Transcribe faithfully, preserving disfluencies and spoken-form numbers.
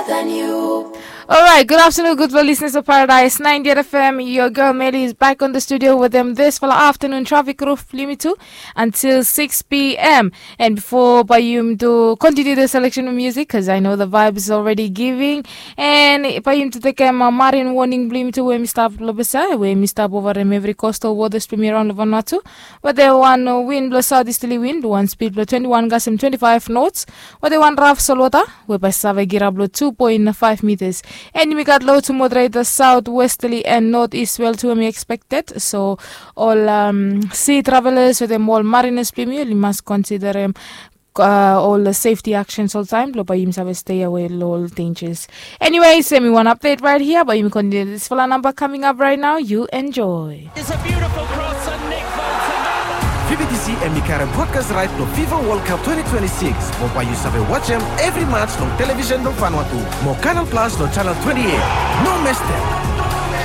Than you. Alright, good afternoon, gudfala listeners of Paradise ninety-eight F M. Your girl Meli is back on the studio with them this fala afternoon traffic roof limit two until six p m. And before Bayum to continue the selection of music, because I know the vibe is already giving. And Bayum to take a marine warning blim to where Mister Blobesa, where Mister Bovarem every coastal waters to me around Vanuatu. Where they one wind blow southeasterly wind, one speed blow twenty-one gas and twenty-five knots. Where they one rough salt water, we bae save girap lo two point five meters. And yumi gat low to moderate the southwesterly and northeast swell to be expected. So ol um, sea travelers we dem ol mariners blong yumi, yumi mas consider um, uh, ol safety actions oltaem blo bae yumi save stay away lo ol dangers. Anyways, yumi one update right here, bae yumi continue this fala number coming up right now. You enjoy. It's a beautiful cross and Nick Bolton. V B T C hemi karem broadcast right lo FIFA World Cup twenty twenty-six. Mo bae yu save wajem evri match long television blong Vanuatu. Mo Canal Plus lo channel twenty-eight. No mes dem.